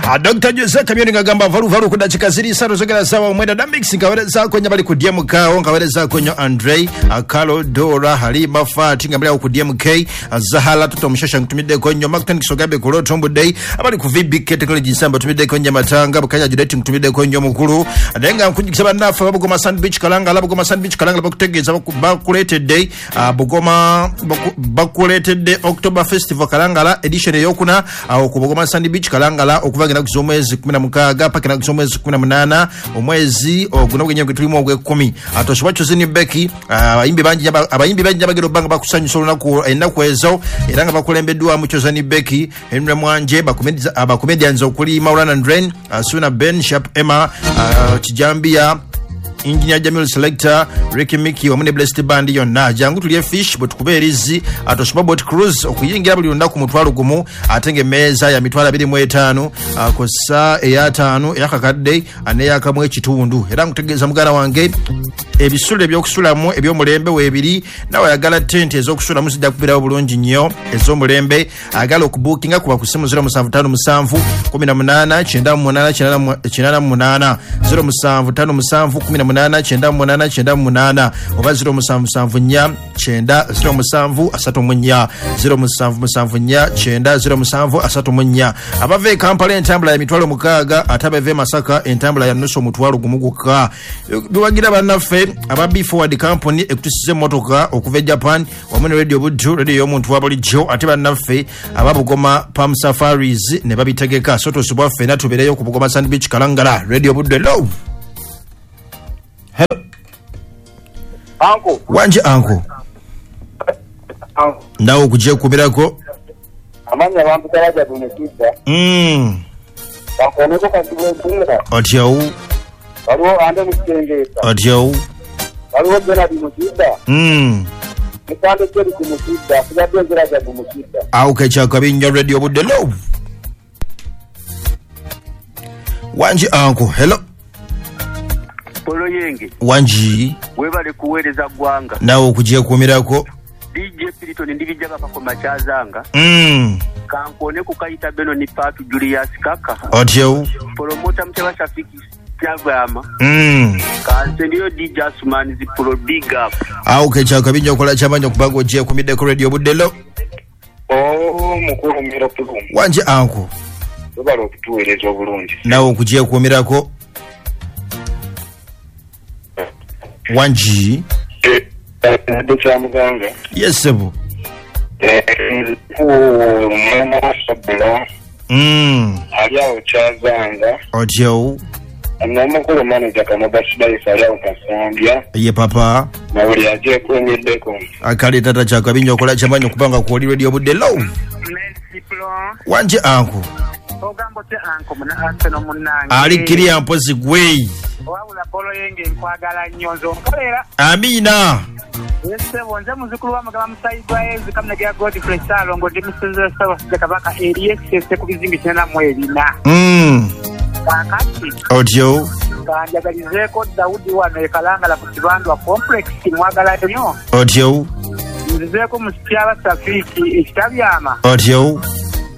Dr. Jose Kamyoni ngagamba valu valu ku dakika ziri satu zogera sawa mwenda da mix nkawereza ko nyabali ku DMK o nkawereza ko nyo Andre Akalo Dora Halima Fati ngambali ku DMK Zahala Toto Mshasha nkutumide ko nyo Martin Kisogabe ku Rotombo Day abali ku VBK Technology Nsamba tumide ko nyamatanga bukanya Judet nkutumide ko nyo mukulu adenga nkujikisa banafa babugoma Sand Beach Kalanga labugoma Sand Beach Kalanga bakutegeeza bakuleetedde Bugoma bakuleetedde October Festival Kalangala edition eyokuna awo ku Bugoma Sand Beach Kalangala okuva ngena kuzomwezi 16 paka na kuzomwezi 18 omwezi oguno gwenye tulimu ogwe 10 atoshwa chozini Becky abayimbi bangi abagero banga bakusanyusa olunaku ennaku ezo era nga bakulembeddwa mu Chozini Becky Henry Mwanje abakomedians okuli Maulana Ndren Suna Ben Sharp Emma Kijambia Engineer Jamil Selector Ricky Mickey wamune Blessed Band yonna jangu tulye fish but kubeerizi atoshwa boat cruise okuyingira buli lunaku mutwalo gumu atenge meza ya mitwalo 25 kosa eyataano eyakakadde aneyakamwe ekitundu era nkutegeeza muganda wange ebisulo ebyokusulamu ebyomulembe weebiri nawe ayagala tente ez'okusulamu zijja kubirawo bulungi nnyo ez'omulembe ayagala okubuukinga kuba ku simu 0757 18 98 98 0757 18 98 98 oba 0774 9 07 34 0774 9 07 34 abava e Kampala entambula ya mitwalo 6 ate abava e Masaka entambula ya nusu omutwalo gumu gwokka. Biwagira bannaffe aba B Forward Company ekutusiza emmotoka okuva e Japan wamu ne Radio Buddu radio y'omuntu wa bulijjo ate bannaffe aba Bugoma Palm Safaris ne babitegeka so tosubwa ffenna tubeereyo ku Bugoma Sand Beach Kalangala. Radio Buddu hello. Hello. Anko. Wanje anko. Anko. Nawe okujja okubirako. Amanya abantu taraja bunekidda. Bakoneko kasibe Otyo. Waliwo ande mukisengeesa. Otyo. Waliwo Benard Mukidda. Mukande Jerry Mukidda, asigadde nziraja Mukidda. Awo kekyakabi nnyo Radio Buddu hello. Wanje anko. Hello. Polo yenge. Wanji. Webale kuweereza ggwanga. Nawe okujja okumirako. DJ Piriton ndibijja bakakoma kyazanga. Kankone kukayita Beno ni Patu Julius Kaka. Otyo. Promota Muteba Shafiki Kyagama. Kansendiyo DJ Asman zi pro big up. Awo kekyakabi nnyo okola kyamanyi okubaga ojja okumiddeko Radio Buddu hello. Oh mukulu mira pulumu. Wanje anko. Webale okutuweereza obulungi. Nawe okujja okumirako. Wanji. Dr. Muganga. Yes, sebo. Mwana Sabula. Ali awo Kyazanga. Otyo. Namukulu manager Kamabasidaisa ali awo Kasambya. Ye papa. Na buli aje kumiddeko. Akale tata kyakabi nnyo okola kyamanyi okubanga kwoli Radio Buddu hello. Merci Plon. Wanje anko. Ogambo te anko muna Arsenal munnange. Ali kiriya mpozi gwe. Wabula Polo yenge nkwagala nnyo nze onkolera. Amina. Yesebo nze muzukulu wa Mugaba Musayi gwa Yezu Kamunegera Godfrey Ssalongo ndi musinzi wa Ssaabasajja Kabaka eri Ekisese ku bizinga 94. Kaakati. Otyo. Kanjagalizeeko Daudi wano e Kalangala ku Kibandwa Complex mwagala nnyo. Otyo. Nzizeeko Musityaba Safiki ekitabyama. Otyo.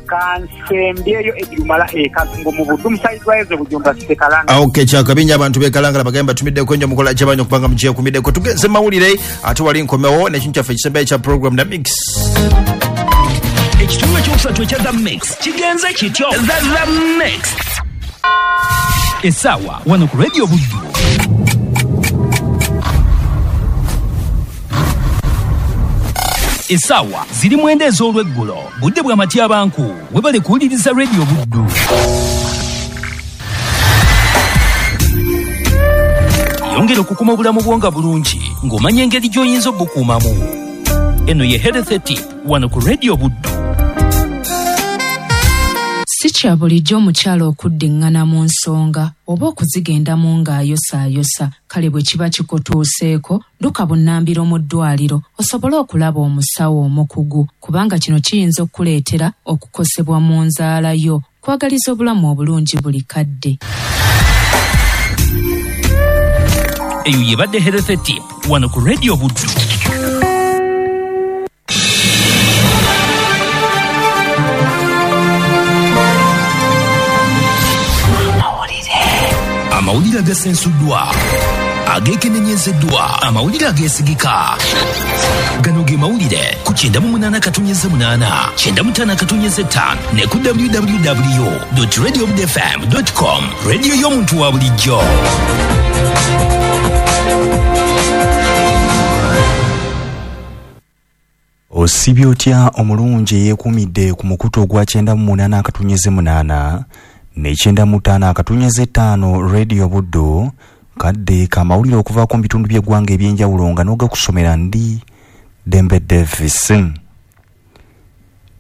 Kansembyeyo ebirumala ekazungu mu Buddu Musayi gwa Yezu Bujumba City Kalangala. Okay, kyakabi nnyo abantu b'e Kalangala bagamba batumiddeko nnyo mukola kyamanyi okubanga mugiye kumiddeko. Tugenze mawulire ate wali nkomewo n'ekintu kyaffe ekisembayo ekya program na mix. Ekitundu ekyokusatu ekya The Mix kigenze kityo. The Mix. Essaawa wano ku Radio Buddu. Essaawa ziri 9 ez'olweggulo. Budde bwa Matyabanku. Webale kuwuliriza Radio Buddu. Yongera okukuma obulamu bwo nga bulungi ng'omanya engeri gy'oyinza obukuumamu. Eno ye Health Tip wano ku Radio Buddu. Si kya bulijjo omukyala okuddiŋŋana mu nsonga oba okuzigendamu ng'ayosaayosa. Kale bwe kiba kikutuuseeko dduka bunnambiro mu ddwaliro osobole okulaba omusawo omukugu kubanga kino kiyinza okukuleetera okukosebwa mu nzaala yo. Kwagaliza obulamu obulungi buli kadde. Eyo yebadde Health Tip wano ku Radio Buddu. Amawulire agasensuddwa, ageekenenyezeddwa, amawulire ageesigika. Gano ge mawulire ku 98.8, 95.5 ne ku www.radiobudfm.com. Radio y'omuntu wa bulijjo. Osibye otya omulungi eyeekuumidde ku mukutu ogwa 98.8 ne 95.5 Radio Buddu, kadde kamawulire okuvaako mu bitundu by'eggwanga eby'enjawulo nga n'ogakusomera ndi Dembe Davis.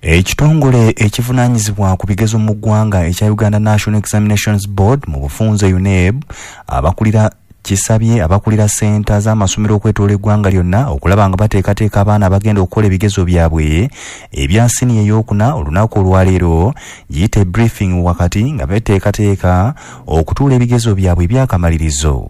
Ekitongole ekivunaanyizibwa ku bigezo mu ggwanga ekya Uganda National Examinations Board mu bufunze UNEB abakulira kisabye abakulira senta z'amasomero okwetoola eggwanga lyonna okulaba nga bateekateeka abaana abagenda okukola ebigezo byabwe ebya siniya ey'okuna olunaku olwaleero, giyite briefing wakati nga beteekateeka okutuula ebigezo byabwe ebyakamalirizo.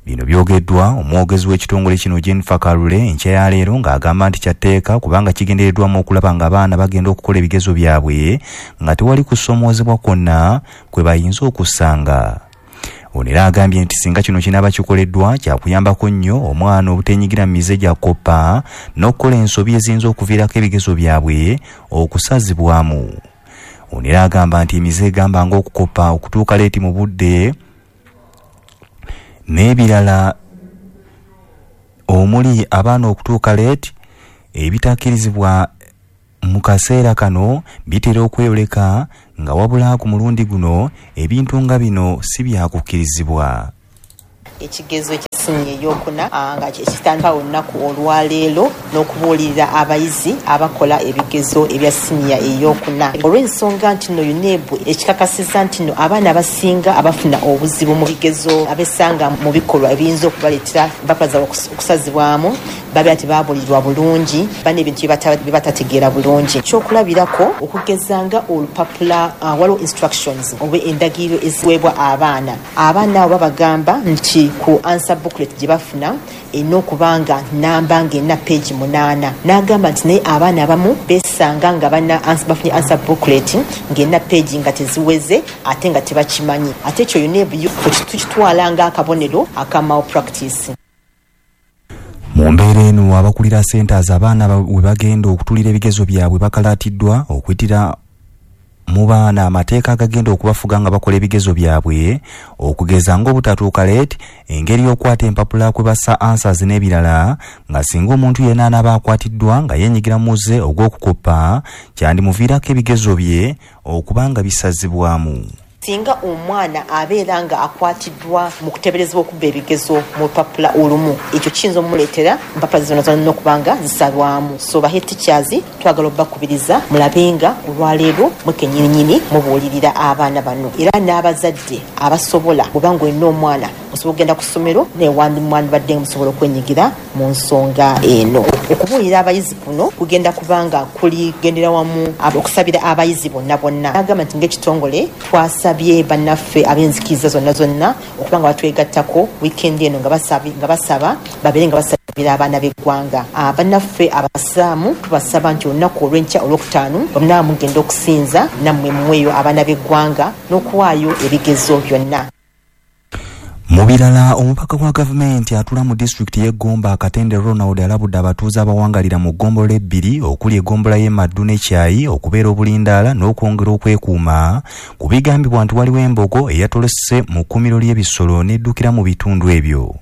Bino byogeddwa omwogezi w'ekitongole kino Jennifer Kalule enkya ya leero ng'agamba nti kyatteeka kubanga kigendereddwamu okulaba nga abaana bagenda okukola ebigezo byabwe nga tewali kusoomoozebwa kwonna kwe bayinza okusanga. Ono era agambye nti singa kino kinaaba kikoleddwa kyakuyambako nnyo omwana obutenyigira mu mize gya koppa n'okukola ensobi eziyinza okuviirako ebigezo byabwe okusazibwamu. Ono era agamba nti emize egamba ng'okukoppa, okutuuka leeti mu budde n'ebirala omuli abaana okutuuka leeti ebitakkirizibwa mu kaseera kano bitera okweyoleka nga wabula ku mulundi guno ebintu nga bino si byakukkirizibwa. Ekigezo ekya siniya ey'okuna nga kitandika olunaku olwaleero n'okubuulirira abayizi abakola ebigezo ebya siniya ey'okuna, olw'ensonga nti nno UNEB ekikakasizza nti nno abaana abasinga abafuna obuzibu mu bigezo abesanga mu bikolwa ebiyinza okubaleetera empapula zaabwe okusazibwamu babeera tebabuulirwa bulungi, bana ebintu bye batategeera bulungi. Ekyokulabirako okugeza nga olupapula, waliwo instructions oba endagiriro eziweebwa abaana. Abaana abo babagamba nti ku answer booklet gye bafuna erina okuba nga namba ng'erina page 8, n'agamba nti naye abaana abamu beesanga nga bafunye answer booklet ng'erina page nga teziweze ate nga tebakimanyi. Ate ekyo UNEB tukitwala ng'akabonero aka malpractice. Mu mbeera eno abakulira centers abaana we bagenda okutuulira ebigezo byabwe bakalaatiddwa okuyitira mu baana amateeka agagenda okubafuga nga bakola ebigezo byabwe, okugeza ng'obutatuuka leeti, engeri y'okukwata empapula kwe bassa answers n'ebirala, nga singa omuntu yenna anaaba akwatiddwa nga yeenyigira mu muze ogw'okukoppa kyandimuviirako ebigezo bye okuba nga bisazibwamu. Singa omwana abeera nga akwatiddwa mu kuteeberezebwa okubba ebigezo mu lupapula olumu, ekyo kiyinza omuleetera empapula zonna zonna okuba nga zisalwamu. So ba head teachers twagala obbakubiriza mulabe nga olwaleero mwe kennyininyini mubuulirira abaana bano, era n'abazadde abasobola, bw'oba ng'olina omwana osobola okugenda ku ssomero naye wandibadde musobola okwenyigira mu nsonga eno. Okubuulira abayizi kuno kugenda kubanga kuligendera wamu okusabira abayizi bonna bonna. Agamba nti ng'ekitongole twasabye bannaffe ab'enzikiriza zonna zonna okuba nga batwegattako weekend eno nga basaba babeere nga basabira abaana b'eggwanga. Bannaffe abasiraamu tubasaba nti olunaku olw'enkya olwokutaano bonna mugenda okusinza nammwe muweeyo abaana b'eggwanga n'okuwaayo ebigezo byonna. Mu birala, omubaka wa gavumenti atula mu disitulikiti y'e Gomba Katende Ronald alabudde abatuuze abawangalira mu ggombolola ebbiri okuli eggombolola y'e Maddu ne Kyayi okubeera obulindaala n'okwongera okwekuuma ku bigambibwa nti waliwo embogo eyatolose mu kkuumiro ly'ebisolo n'eddukira mu bitundu ebyo.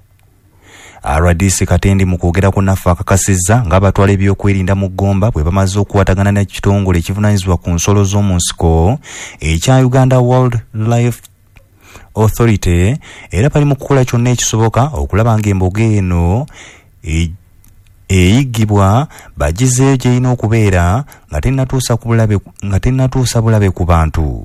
RDC Katende mu kwogerako naffe akakasizza ng'abatwala ebyokwerinda mu Gomba bwe bamaze okukwatagana n'ekitongole ekivunaanyizibwa ku nsolo z'omu nsiko ekya Uganda Wildlife Authority, era bali mu kukola kyonna ekisoboka okulaba ng'embogo eno eyigibwa bagizeeyo gy'erina okubeera nga tennatuusa bulabe ku bantu.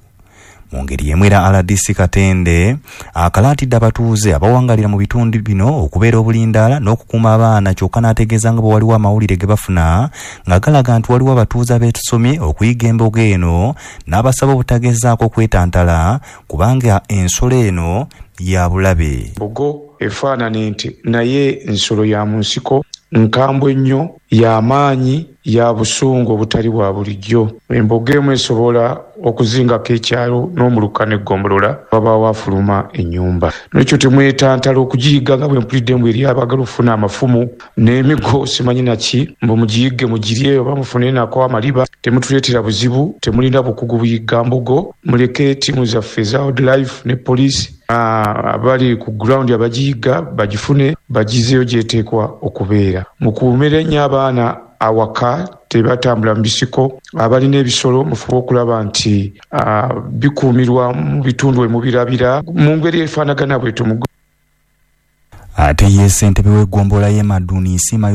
Mu ngeri y'emu era RDC Katende akalaatidde abatuuze abawangalira mu bitundu bino okubeera obulindaala n'okukuuma abaana, kyokka n'ategeeza nga bwe waliwo amawulire ge bafuna nga galaga nti waliwo abatuuze abeetusomye okuyiga embogo eno n'abasaba obutagezaako kwetantala kubanga ensolo eno ya bulabe. Mbogo efaanana ente naye nsolo ya mu nsiko. Nkambwe nnyo, y'amaanyi, ya busungu obutali bwa bulijjo. Embogo emu esobola okuzingako ekyalo n'omuluka n'eggombolola wabaawo afuluma ennyumba. Nolwekyo temwetantala okugiyigga nga bwe mpulidde mbu eri abaagala okufuna amafumu n'emigo simanyi naki, mbu mugiyigge mugirye oba mufune nako amaliba. Temutuleetera buzibu, temulina bukugu buyigga mbogo. Muleke ttiimu zaffe eza wildlife ne poliisi abali ku ground abagiyigga bagifune bagizeeyo gyeteekwa okubeera. Mukuumire nnyo abaana awaka, tebatambula mu bisiko. Abalina ebisolo mufube okulaba nti bikuumirwa mu bitundu emubirabira mu ngeri efaanagana bwetyo. Ate ye ssentebe w'eggombolola y'e Maduni Nsiima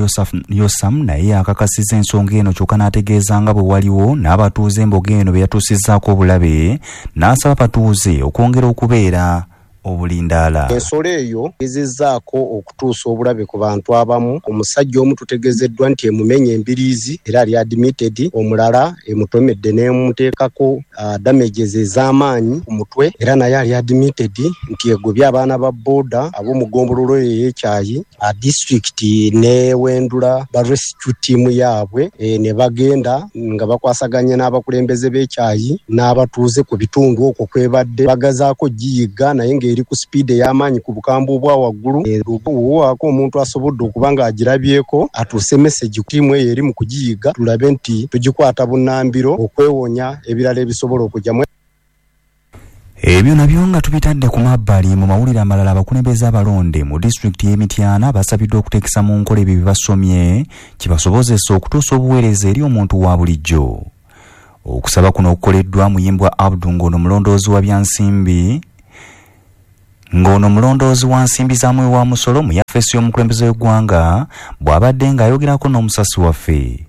Yosam naye akakasizza ensonga eno, kyokka n'ategeeza nga bwe waliwo n'abatuuze embogo eno be yatuusizzaako obulabe, n'asaba abatuuze okwongera okubeera obulindaala. Ensolo eyo ezezzaako okutuusa obulabe ku bantu abamu. Omusajja omu tutegeezeddwa nti emumenye embiriizi era ali admitted, omulala emutomedde n'emuteekako damages ez'amaanyi ku mutwe era naye ali admitted, nti egobye abaana ba booda ab'omu ggombolola eyo ey'Ekyayi disitulikiti n'ewendula ba rescue team yaabwe, ne bagenda nga bakwasaganya n'abakulembeze b'Ekyayi n'abatuuze ku bitundu okwo kwebadde bagazaako giyigga, naye nga eri ku sipiidi ey'amaanyi ku bukambwe obwa waggulu. Waako omuntu asobodde okuba ng'agirabyeko atuuse message ttiimu eyo eri mu kugiyigga, tulabe nti tugikwata bunnambiro okwewonya ebirala ebisobola okujjamu. Ebyo nabyo nga tubitadde ku mabbali, mu mawulire amalala, abakulembeze abalonde mu disitulikiti y'e Mityana basabiddwa okuteekesa mu nkola ebyo bye basomye kibasobozesa okutuusa obuweereza eri omuntu wa bulijjo. Okusaba kuno okukoleddwa Muyimbwa Abdu, ng'ono mulondoozi wa byansimbi ng'ono mulondoozi wa nsimbi za muwi wa musolo mu yafeesi y'omukulembeze w'eggwanga, bw'abadde ng'ayogerako n'omusasi waffe.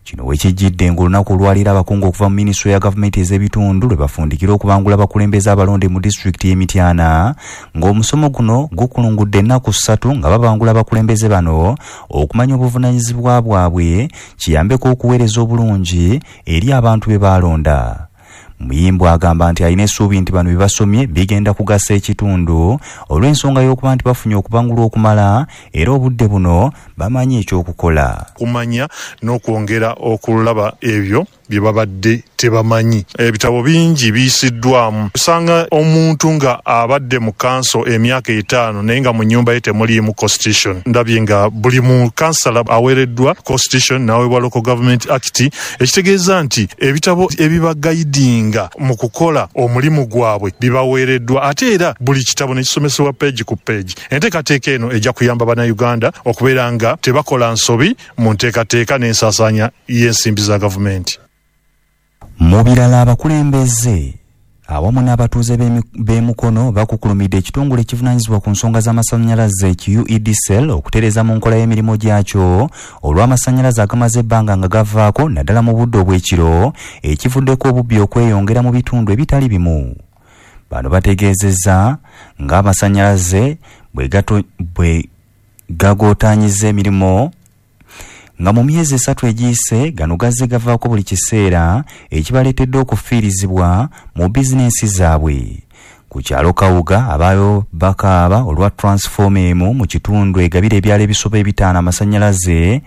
Kino wekijjidde ng'olunaku olwaleero abakungu okuva mu minisitule ya gavumenti ez'ebitundu lwe bafundikira okubangula abakulembeze abalonde mu disitulikiti y'e Mityana, ng'omusomo guno gukulungudde ennaku 3 nga babangula abakulembeze bano okumanya obuvunaanyizibwa bwabwe kiyambeko okuweereza obulungi eri abantu be baalonda. Muyimbwa agamba nti alina essuubi nti bano bye basomye bigenda kugasa ekitundu olw'ensonga y'okuba nti bafunye okubangulwa okumala era obudde buno bamanyi ekyokukola. Kumanya n'okwongera okulaba ebyo bye babadde tebamanyi. Ebitabo bingi biyisiddwamu. Osanga omuntu nga abadde mu kanso emyaka 5 naye nga mu nnyumba ye temuliimu constitution. Ndabye nga buli mu kansala aweereddwa constitution n'aweebwa Local Government Act, ekitegeeza nti ebitabo ebibagayidinga mu kukola omulimu gwabwe bibaweereddwa, ate era buli kitabo ne kisomesebwa peegi ku peegi. Enteekateeka eno ejja kuyamba Bannayuganda okubeera nga tebakola nsobi mu nteekateeka n'ensaasaanya y'ensimbi za gavumenti. Mu birala, abakulembeze awamu n'abatuuze b'e Mukono bakukulumidde ekitongole ekivunaanyizibwa ku nsonga z'amasannyalaze ki UEDCL okutereeza mu nkola y'emirimu gyakyo olw'amasannyalaze agamaze ebbanga nga gavaako, naddala mu budde obw'ekiro, ekivuddeko obubbi okweyongera mu bitundu ebitali bimu. Bano bategeezezza ng'amasannyalaze bwe gagootaanyiza emirimu, nga mu myezi 3 egiyise gano gazze gavaako buli kiseera, ekibaleetedde okufiirizibwa mu bizinensi zaabwe. Ku kyalo Kawuga abaayo bakaaba olwa transformer emu mu kitundu egabira ebyalo ebisoba 5 amasannyalaze,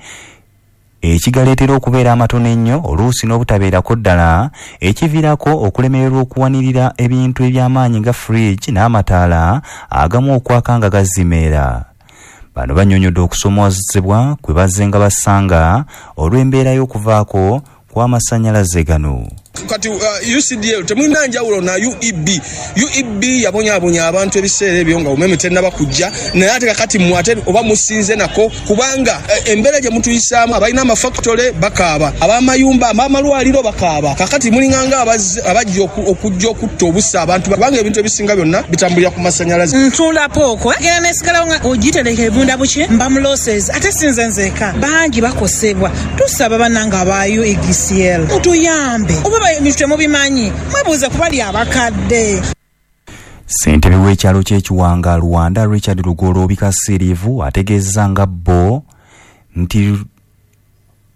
ekigaleetera okubeera amatono ennyo oluusi n'obutabeerako ddala, ekiviirako okulemererwa okuwanirira ebintu eby'amaanyi nga fridge n'amataala agamu okwaka nga gazimeera. Bano bannyonnyodde okusoomoozebwa kwe bazze nga basanga olw'embeera y'okuvaako kw'amasannyalaze gano. Kati UCDL temulina njawulo na UEB. UEB yabonyaabonya abantu ebiseera ebyo nga umeme tennaba kujja, naye ate kakati mmwe ate oba musinze nako, kubanga embeera gye mutuyisaamu, abalina amafactory bakaaba, ab'amayumba, ab'amalwaliro bakaaba. Kakati mulinganga abajja okujja okutta obussa abantu, kubanga ebintu ebisinga byonna bitambulira ku masannyalaze. Ntunda pooko genda nesigalawo nga ogitereka ebunda buki mba mu losses, ate sinze nzeka, bangi bakosebwa. Tusaba bannange aba UEDCL mutuyambe, oba ebintu temubimanyi mwebuuze kubali abakadde. Ssentebe w'ekyalo ky'Ekiwanga Rwanda Richard Lugoloobi Kasiriivu ategeezezza nga bo nti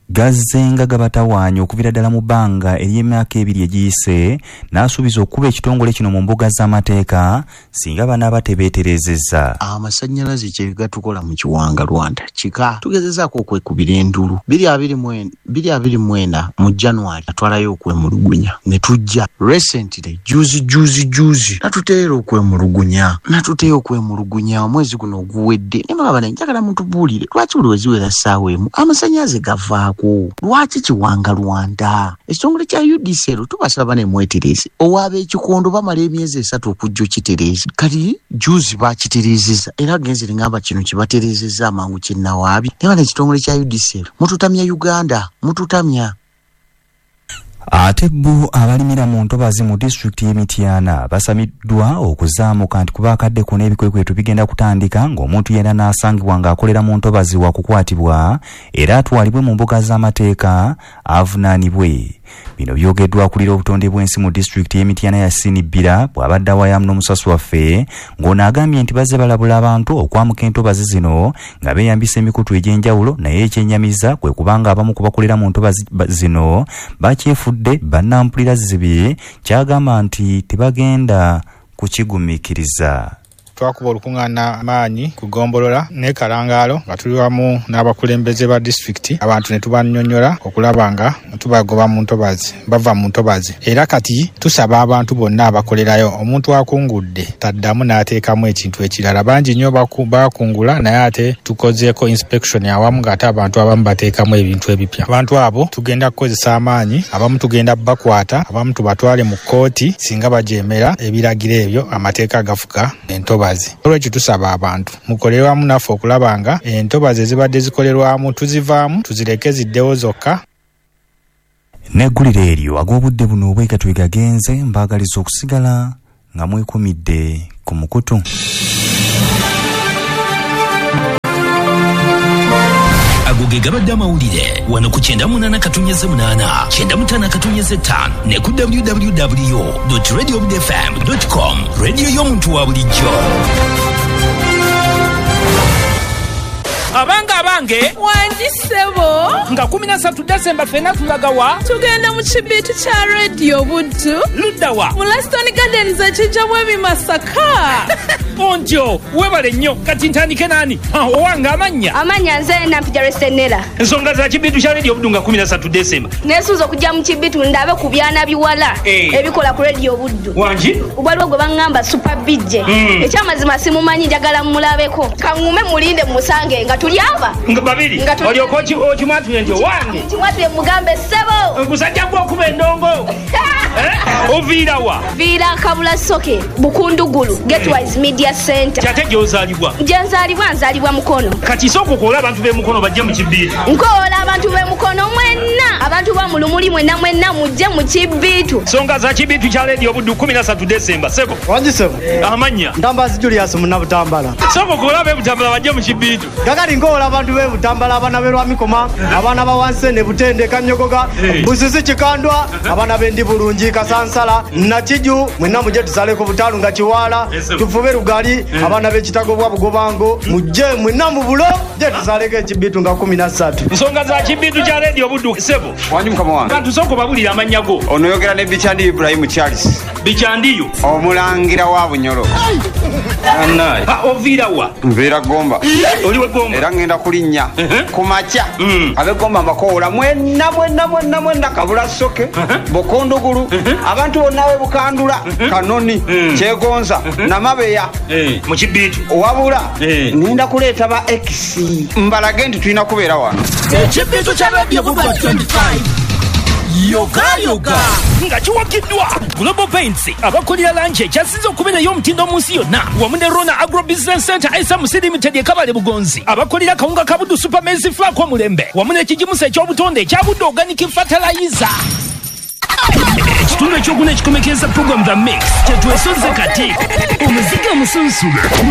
gazzenga gabatawaanya okuviira ddala mu bbanga ery'emyaka 2 egiyise, n'asuubiza okuba ekitongole kino mu mbuga z'amateeka singa banaaba tebeeterezezza. Amasannyalaze kye gatukola mu Kiwanga Rwanda kika tugezezaako okwekubira endulu 2024 mu January atwalayo okwemulugunya ne tujja recently juzi natuteera okwemulugunya omwezi guno oguwedde. Ne baba njagala mutubuulire lwaki buli weziwera ssaawa emu amasannyalaze gavaako, lwaki Kiwanga Rwanda? Ekitongole kya UDCL tubasaba ne mwetereze ow'ab'ekikondo bamala emyezi 3 okujja okitereeza. Kati juzi bakitereezezza era genze ngamba kino kibatereezezza amangu kinnawaabi. Naye bano ekitongole kya UDCL mututamya Uganda, mututamya. Ate bo abalimira mu ntobazi mu disitulikiti y'e Mityana basamiddwa okuzaamuka nti kuba akadde kuno ebikwekweto bigenda kutandika ng'omuntu yenna n'asangibwa ng'akolera mu ntobazi wa kukwatibwa era atwalibwe mu mbuga z'amateeka avunaanibwe. Bino byogeddwa akulira obutonde bw'ensi mu disitulikiti y'e Mityana Yasini Bbira bw'abadde awayamu n'omusasi waffe, ng'ono agambye nti bazze balabula abantu okwamuka entobazi zino nga beeyambisa emikutu egy'enjawulo, naye ekyennyamiza kwe kubanga abamu ku bakolera mu ntobazi zino bakyefudde bannampulira zibi, kyagamba nti tebagenda kukigumiikiriza. Twakuba olukuŋŋaana maanyi ku ggombolola ne Kalangaalo nga tuli wamu n'abakulembeze ba disitulikiti, abantu ne tubannyonnyola okulaba nga tubagoba mu ntobazi, bava mu ntobazi. Era kati tusaba abantu bonna abakolerayo, omuntu akungudde taddamu n'ateekamu ekintu ekirala. Bangi nnyo bakungula naye ate tukozeeko inspection awamu ng'ate abantu abamu bateekamu ebintu ebipya. Abantu abo tugenda kukozesa amaanyi, abamu tugenda bakwata, abamu tubatwale mu kkooti singa bajeemera ebiragiro ebyo amateeka agafuga entobazi. Olwekyo tusaba abantu mukolere wamu naffe okulaba nga entobazi ezibadde zikolerwamu tuzivaamu tuzireke ziddewo zokka. N'eggulire eryo ag'obudde buno obwekatwe gagenze, mbaagaliza okusigala nga mwekumidde ku mukutu. Ago ge gabadde amawulire wano ku 98.8 95.5 ne ku www.radiobudfm.com, radio y'omuntu wa bulijjo. Abange abange, wangi ssebo, nga 13 Desemba ffenna tulagawa, tugenda mu kibiitu kya Radio Buddu. Luddawa? Mu Laston Gardens ekijjamu ebimasaka. Ontyo webale nnyo. Kati ntandike nani? Owange amannya? Amannya nze Nampija Resenera. Ensonga za kibiitu kya Radio Buddu nga 13 Desemba. Neesuuza okujja mu kibiitu ndabe ku byana biwala ebikola ku Radio Buddu. Wangi? Waliwo gwe baŋŋamba Super BJ. Ekyamazima simumanyi, njagala mmulabeko. Kaŋŋume mulinde musange nga tuli aba nga babiri. Olyoka okimwatule nti owange kimwatule mugambe ssebo gusajja gwe okuba endongo. Oviira wa? Viira Kabula Soke, Bukundugulu, Getwise Media Center. Kyate gy'ozaalibwa? Gye nzaalibwa, nzaalibwa Mukono. Kati sooka okoola abantu b'e Mukono bajje mu kibiitu. Nkoola abantu b'e Mukono mwenna, abantu ba mu Lumuli mwenna mwenna mujje mu kibiitu. Nsonga za kibiitu kya Radio Buddu 13 Desemba. Sebo. Wangi sebo. Amannya? Ntambazi Julius Munnabutambala. Sooka okoola ab'e Butambala bajje mu kibiitu. Kakati nkoola abantu b'e Butambala, abaana b'e Lwamikoma, abaana ba Wansene, Butende, Kanyogoga, Busisi, Kikandwa, abaana b'endi Bulungi, Kasansala, Nakiju, mwenna mujje tusaleko Butalu nga Kiwaala, tufube Lugali, abaana b'Ekitago bwa Bugobango, mujje mwenna mu bulo, mujje tusaleko ekibiitu nga 13. Nsonga za kibiitu kya Radio Buddu sebo. Wangi mukama wange. Bantu sooka obabulire amannya go. Ono yogera ne Bikyandi Ibrahim Charles. Bikyandiyo? Omulangira wa Bunyoro. Oviira wa? Nviira Gomba. Oli we Gomba? Era ngenda kulinnya ku makya. Ab'e Gomba mbakoola mwenna mwenna mwenna mwenna, Kabula Soke, Bukundugulu, abantu bonna b'e Bukandula, Kanoni, Kyegonza, Namabeya. Mu kibiitu. Wabula ngenda kuleeta ba X mbalage nti tulina kubeera wano. Ekibiitu kya Radio Buddu 25 yoga yoga nga kiwagiddwa Global Paints abakolera langi ekyasinze okubeera ey'omutindo mu nsi yonna, wamu ne Rona Agro Business Center SMC Limited e Kabale Bugonzi, abakolera kawunga ka Buddu Super Maize Flour omulembe, wamu n'ekigimusa eky'obutonde ekya Buddu Organic Fertilizer. Ekitundu ekyokuna ekikomekeza program The Mix kyetwesoze kati omuzigo omusunsulu guno.